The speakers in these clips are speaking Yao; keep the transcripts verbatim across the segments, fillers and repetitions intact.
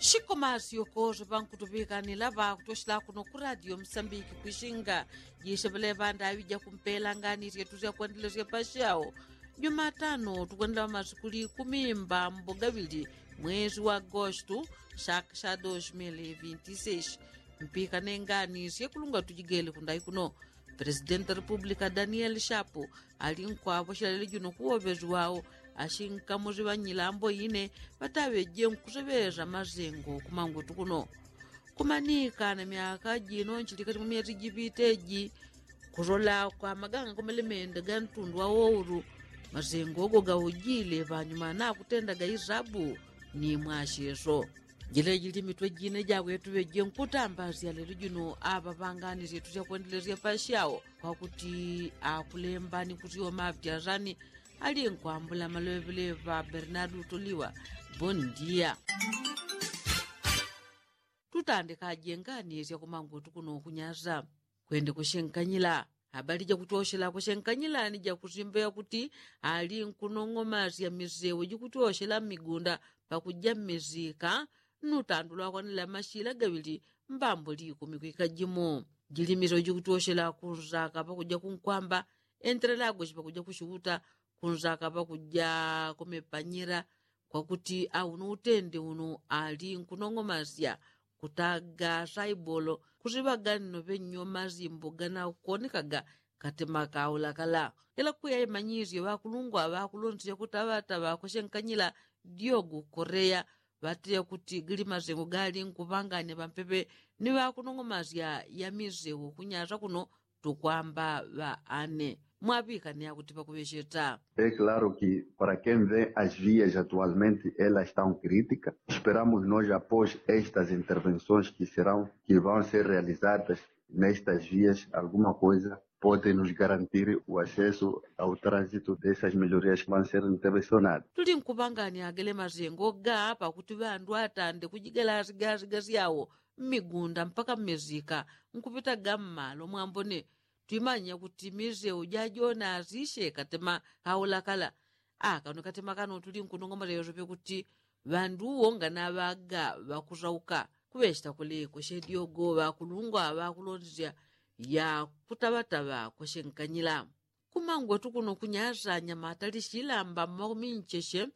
Shikomasyo kose pankutupikanila pakutoshela kuno ku radio msambiki kwishinga. Jisepele pandaŵi jakumpela ngani syetu syakwandilisya pasyawo. Jumatano tukwendela masiku likumi mbambo gaŵili mwezi wa agostu, saka sya dos mil vinti seis. Mpikane ngani syekulunga tujigele kundai kuno. Presidenti wa repúblika daniel shapu ali nkwapwa shilalile juno kuwoŵezi wawo ashinkamusi ŵanyilambo ine ŵataŵeje nkuseŵesa masengo kumangwetu kuno. Kumanika na myaka jino nchilikati mwa myezi jipite ji kusola kwa maganga komelemende ga ntundu wa woulu. Masengo ogo gaujile panyuma nakutendaga isabu ni mwasyeso. Jilejili mitwe jine jawetu ŵeje nkutambasya lelo juno aŵa ŵangani syetu syakwendelesya pasyawo kwakuti akulemba ni kusyoma avyasani. Ali nkwambula maloŵeleŵa bernardu toliwa. Bondia. Tutandikaje ngani syakumangwetu kuno kunyasa. Kwende kushenkanyila. Habali jakutoshela kushenkanyila ni jakusimba yakuti ali nkunong'omasya misewo jikutoshela mmigunda pakuja mmisika. Nnutandu lwakwanila mashila gaŵili mbambo likumi kwika jimo. Jilimiso jikutoshela kunsaka pakuja kunkwamba, enterelagoshi pakuja kushuta kunsaka pakuja kumepanyila. Kwakuti auno utende uno ali nkunong'omasya kutaga saibolo kusiŵaga nno ŵenyo masimbo ganakuonekaga katema kaulakala. Ila kwiya imanyisye ŵakulungwa ŵakulonsya kutaŵataŵa kushenkanyila diogu koreya ŵateya kuti gali masengo gali nkuŵanganya pampepe ni ŵakunong'omasya ya misewo kunyasa kuno. Tukwamba ŵa ane mwaŵikane akuti pakuŵecheta. É claro que para quem vê as vias atualmente elas estão críticas. Esperamos nós após estas intervenções que serão que vão ser realizadas nestas vias alguma coisa pode nos garantir o acesso ao trânsito dessas melhorias que vão ser intervencionadas. Tuli nkupangani agele masengo ga pakuti ŵandu atande kujigela asigasigasi yawo mmigunda mpaka mmizika nkupitaga mmalo mwambone. Twimanya kuti misewo jajona asisye katema kaulakala. Akano katema kano tuli nkunong'omasya yosepe kuti ŵanduwo nganaŵaga ŵakusauka. Kuŵecheta kuleko shedyogo ŵakulungwa ŵakulondesya ya kutaŵataŵa kwashenkanyila. Kumangwetu kuno kunyasa anyamata lishilamba mmakumincheshe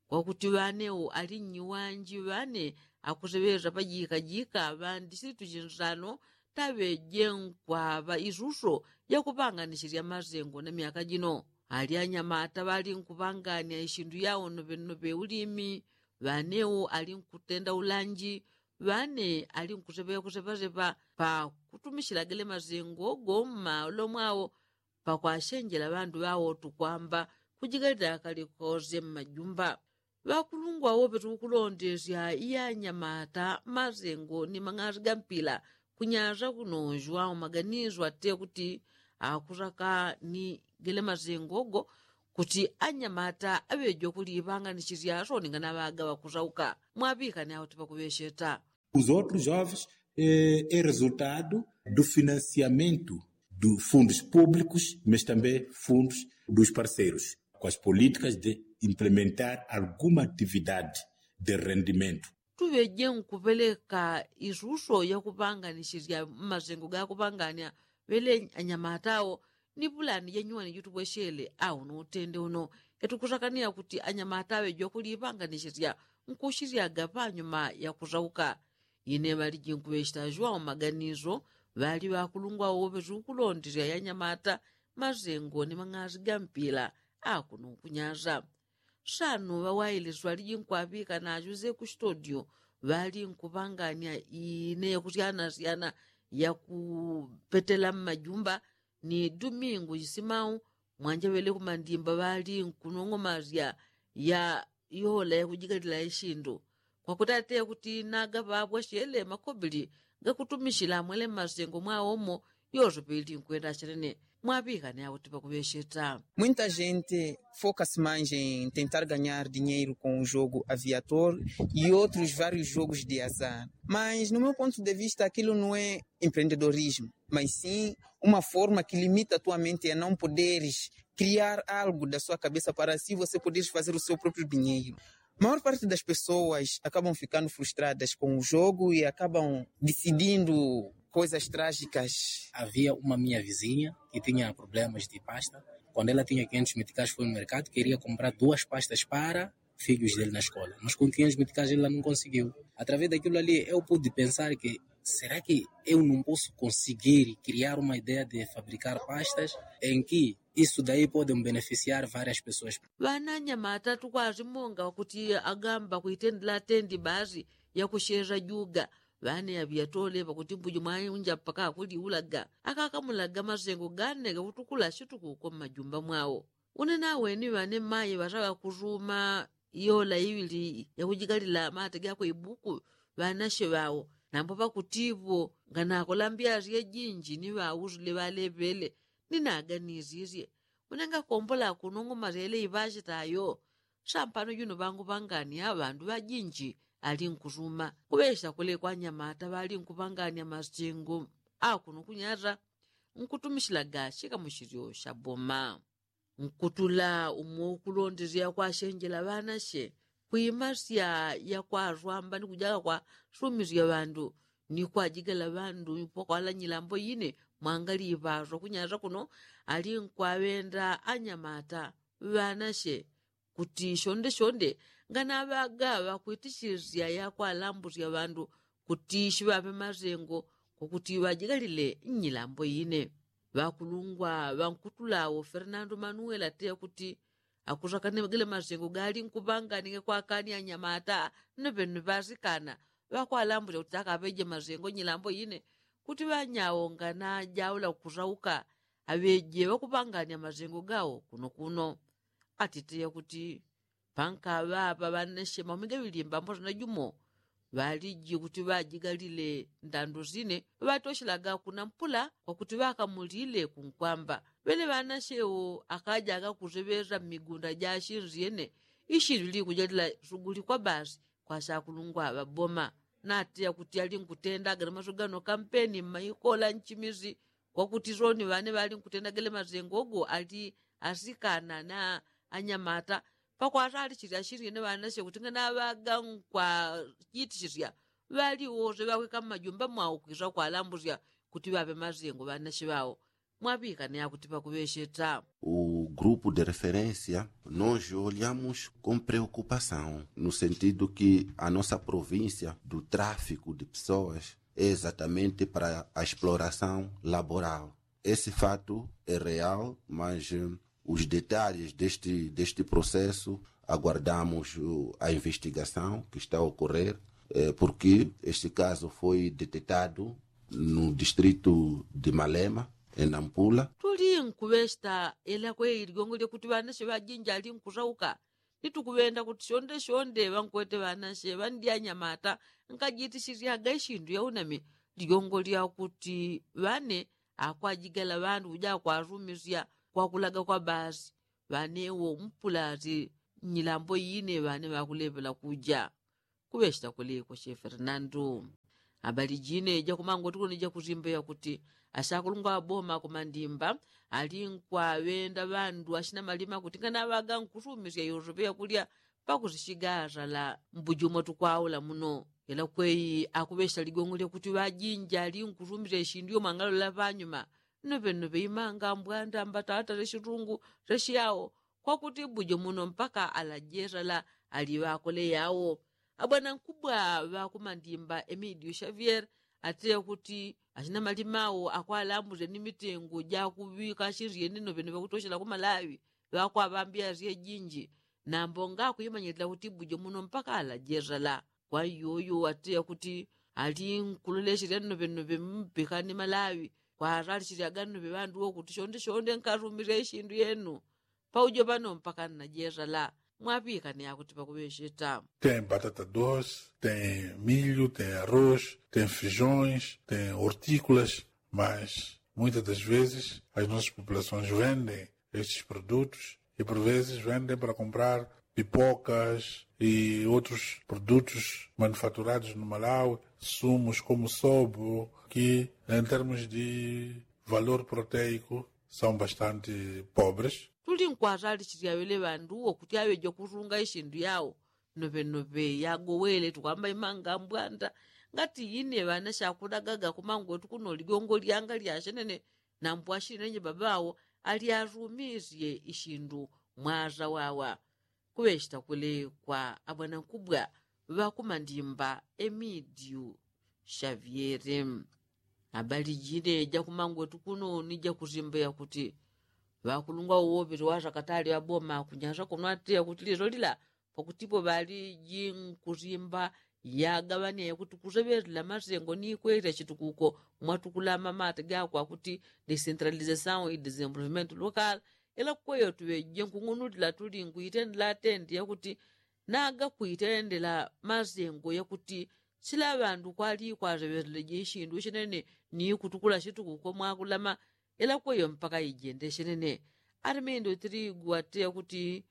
kwakuti ŵanewo ali nnyiwanji ŵane akuseŵesa pajikajika ŵandi situchinsano taŵeje nkwaŵa isuso yakupanganisisya masengo na myaka jino. Ali anyamata ŵali nkupangania ishindu yawo noŵenoŵe ulimi ŵanewo ali nkutenda ulanji ŵane ali nkuseŵe kuseŵaseŵa pakutumishila gele masengo go mmalo mwawo pakwashenjela ŵandu ŵawo tukwamba kujigalila kalikose mmajumba. Ŵakulungwa wope tukulondesya iyanyamata masengo ni mang'asi ga mpila kunyasa kuno juwao maganiso ate kuti akusaka ni gele masengo go kuti anyamata aŵejwa kulipanganisisya soningana ŵaga ŵakusauka. Mwaŵikane auti pakuŵecheta. Os outros jovens é resultado do financiamento do fundos públicos mas também fundos dos parceiros com as políticas de implementar alguma atividade de rendimento. Tuŵeje nkuŵeleka isuso yakupanganisisya mmasengo gakupangania ŵele anyamata awo ni pulani janyuwani jutupweshele au no utende uno. Yatukusakania kuti anyamata aŵejwa kulipanganisisya nkusisyaga panyuma yakusauka. Ine ŵaliji nkuŵechita juwao maganiso ŵali ŵakulungwa woŵe tukulondesya yanyamata masengo ni mang'asi ga mpila akuno kunyasa. Sano ŵawailesi ŵaliji nkwaŵika najuze ku studio ŵali nkupangania ine yakusyanasiyana yakupetela mmajumba ni dumingu isimau. Mwanja ŵele kumandimba ŵali nkunong'omasya ya yola yakujigalila ishindu kwakuti ate kuti nagaŵapwa shele makobili gakutumishila mwele mmasengo mwawomo. Yosepe ili nkwenda achenene mwaŵikane akuti pakuŵecheta. Muita gente foka-se mais em tentar ganhar dinheiro com o jogo aviator e outros vários jogos de azar, mas no meu ponto de vista aquilo não é empreendedorismo, mas sim uma forma que limita a tua mente a não poderes criar algo da sua cabeça para assim você poderes fazer o seu próprio dinheiro. Maior parte das pessoas acabam ficando frustradas com o jogo e acabam decidindo coisas trágicas. Havia uma minha vizinha que tinha problemas de pasta. Quando ela tinha quinhentos meticais, foi no mercado, queria comprar duas pastas para filhos dele na escola, mas com quinhentos meticais ela não conseguiu. Através daquilo ali eu pude pensar que será que eu não posso conseguir criar uma ideia de fabricar pastas em que isso daí podem beneficiar várias pessoas? Ŵananyama atatu kwazi monga wakuti agamba kuitendela atendi bazi yakusheza juga. Ŵane aŵiyatole ŵakuti mbuji mwaunja mpaka akuliulaga akakamulaga mazengo gane gakutukula situku uko mmajumba mwao. Une naweni ŵane mayi ŵasaŵa kuzuma yola iŵili yakujikalila mate gakwe ibuku ŵanashe ŵao. Nambo ŵakutivo nganakola mbyasye jinji ni ŵausile ŵaleŵele. Ninaganisisye une ngakombola kunong'oma syele iŵasitayo. Sampano juno ŵangu ŵangania ŵandu ŵajinji ali nkusuma kuŵesya kule kwa nyamata ŵali nkuŵangania masengo akuno kunyata nkutumisilaga shikamushilyo shaboma. Nkutula umo ukulondesya kwasenjela ŵanashe kwimasya yakwaswamba ni kujaga kwasumisya ŵandu ni kwajigala ŵandu pakwala nyilambo ine. Mwangali iŵaswa kunyata kuno ali nkwaŵenda anyamata ŵanashe kuti shonde shonde nganaŵaga ŵakwitisisya yakwalambusya ŵandu kuti shiŵaŵe masengo kwakuti ŵajigalile nnyilambo ine. Ŵakulungwa ŵankutula wo fernando manuel ateya kuti akusakane gale masengo gali nkuŵangania kwakania nyamata nnoŵennoŵe ŵasikana ŵakwalambusya kuti akaŵeje masengo nnyilambo ine kuti ŵanyao nganajaula kusauka aŵeje ŵakuŵangania masengo gao kuno kuno. Atiteya kuti pankaŵapa ŵanashe maumi gaŵilimba mbosa na jumo ŵaliji kuti ŵajigalile ndandu sine ŵatoshelaga kuna mpula kwakuti ŵakamulile kunkwamba. Ŵene ŵanashe wo akajaga kuseŵesa mmigunda ja shinsi yene ishindu likujalila suguli kwa basi kwa shakulungwa ŵaboma. Nateya kuti ali nkutendaga na maso gano kampeni mmaikola nchimisi kwakuti soni ŵane ŵali nkutenda gele masengo go ali asikana na anyamata pakwasalisisya shili ine ŵanashe kuti nganaŵaga nkwajitisisya ŵali wose ŵakwika mmajumba mwao kwisa kwalambusya kuti ŵaŵe masengo ŵanashe ŵao. Mwaŵikane akuti pakuŵesheta. O grupo de referência nós olhamos com preocupação no sentido que a nossa província do tráfico de pessoas é exatamente para a exploração laboral. Esse fato é real, mas os detalhes deste processo aguardamos a investigação que está a ocorrer, porque este caso foi detetado no distrito de Malema, em Nampula. Tuli nkuŵesta ela kwei ligongo lyakuti ŵanashe ŵajinji ali nkusauka. Ni tukuŵenda kuti shonde shonde ŵankwete ŵanashe ŵandyanyamata nkajitisisyaga ishindu yaunami. Ligongo lyakuti ŵane akwajigala ŵandu kuja kwasumisya kwakulaga kwa basi ŵane wo mpulati nyilambo ine ŵane ŵakulepela kuja. Kuŵeshita kuli kwa she fernando. Abali jine jakumangoti kuno jakusimba yakuti ashakulungwa ŵaboma kumandimba ali nkwaŵenda ŵandu ashina malima kuti nganaŵaga nkusumisya yosope yakulya pakusishiga asala mbuji umo tukwaula muno. Ela kwei akuŵeshita ligongo lyakuti ŵajinji ali nkusumisya ishindu yomwe angalola panyuma. Nnoŵennoŵe imanga mbwanda mbatata seshitungu seshiyao kwakuti mbuji muno mpaka ala jesala ali ŵakole yao. Abwanankubwa ŵakumandimba emidio xavier ateya kuti ashina malima ao akwalambusya ni mitengo jakuŵika ashindu yene nnoŵennoŵe kutoshela kumalaŵi ŵakwaŵambya asye jinji. Nambo ngakuimanyilila kuti mbuji muno mpaka ala jesala. Kwa iyoyo ateya kuti ali nkuloleshelya nnoŵennoŵe mpika ni malaŵi kwasalishelyaga nnoŵe ŵandu wo kuti shonde shonde nkasumisya ishindu yenu. Paujo pano mpaka nnajesala. Mwaŵikane akuti pakuŵesheta. Tem batata doce, tem milho, tem arroz, tem feijões, tem hortícolas, mas muitas das vezes as nossas populações vendem estes produtos e por vezes vendem para comprar pipocas e outros produtos manufaturados no malau, sumos como sobo, que em termos de valor proteico são bastante pobres. Tuli nkwasalishisya ŵele ŵandu wo kuti aŵeja kusunga ishindu yao. nopenope yagowele tukwamba imanga mbwanda. Ngati ine ŵana shakulagaga kumangwetu kuno ligongo lyanga lyashenene, na mbwashinenye babawo alyarumisye ishindu mwaza wawa. Kuŵechita kule kwa abwanankubwa ŵakumandimba emidiu shavyere. Abali jine jakumangwetu kuno ni jakuzimba yakuti ŵakulungwa uwo ŵili ŵazakatali ŵaboma kunyasa kuno ati yakuti lilo lila pakutipo ŵali jinkuzimba yagaŵania yakuti kuseŵelela masengo ni kwelya chitukuko mwatukulama mate gakwa kuti desentralizasaun i desenvolvimento lokal. Ela kweyo tuŵeje nkung'unulila tuli nkuitendela atende yakuti naga kuitendela masengo yakuti sila ŵandu kwali kwaseŵeleje ishindu ishenene ni kutukula shitukuko mwakulama. Ela kweyo mpaka ijende ishenene. Alimendo tiligu ati yakuti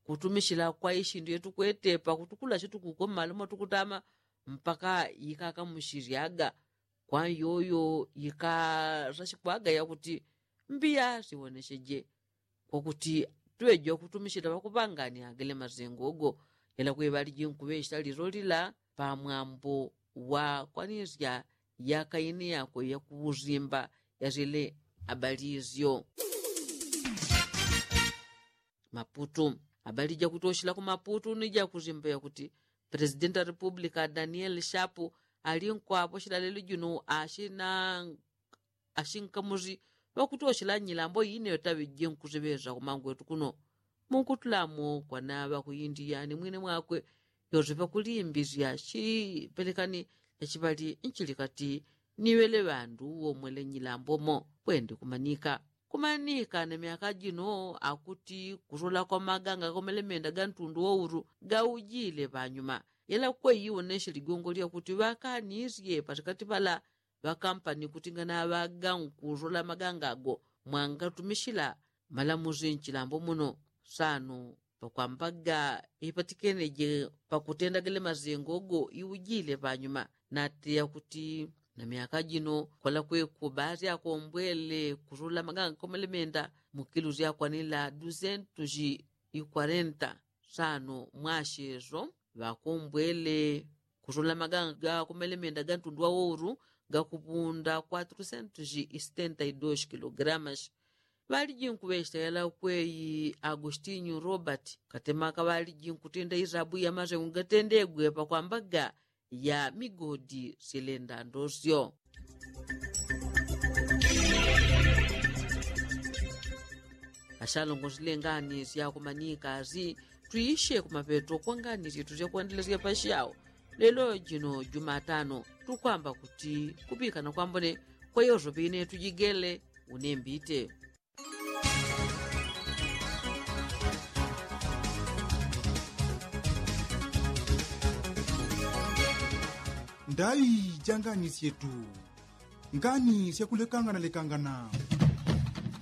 kutumishila kwa ishindu yetukwete pakutukula shitukuko mmalo mwatukutama mpaka yikakamushilyaga. Kwa yoyo yikasashikwaga yakuti mbiya siwonesheje kwakuti tuŵeje wakutumishila ŵakupangania gele masengo ogo. Ela kwe ŵaliji nkuŵechita lilo lila pamwambo wa kwanisya yakaine yakwe yakuusimba yasile. Abali isyo maputu. Abali jakutoshela ku maputu ni jakusimba yakuti presidenti wa republika daniel shapu ali nkwaposhela lelo jino ashina ashinkamusi ŵakutoshela nyilambo ine yotaŵeje nkusiŵeza kumangwetu kuno. Munkutulamo kwana ŵakuindiya ni mwine mwakwe yosepa kulimbisya chipelekani chachiŵali nchilikati niŵele ŵandu womwele nyilambo mo. Pwendi kumanika kumanika na myaka jino akuti kusola kwa maganga komelemenda ga ntundu wa uru gaujile ŵanyuma. Yela kweyi woneshe ligongo lyakuti ŵakanisye patikati pala ŵakampani kuti nganaŵaga nkusola maganga ago mwangatumishila malamusi nchilambo muno. Sano pakwambaga ipatikeneje pakutenda gele masengo go iujile ŵanyuma. Nateya kuti na myaka jino kwalakwe kubazi akombwele kusola maganga komelemenda mukilu syakwanila dusentusi ikwarenta. Sano mwasheso ŵakombwele kusola maganga ga kumelemenda ga ntundu wa wouru gakupunda kwaturusentusi isitenta idoshi kilogramas. Ŵaliji nkuŵechita yala kweyi agostinyu robert katemaka ŵaliji nkutinda isabu ya masengo gatendegwe pakwambaga ya migodi silenda ndosyo. Ashalongosile ngani syakumanika si tuishe kumapeto kwa ngani syetu syakwendelesya pasyawo. Lelo jino jumatano tukwamba kuti kupikana kwambone kwa yosepa ine tujigele. Unembite ndai ja ngani syetu. Ngani syakulekangana lekangana.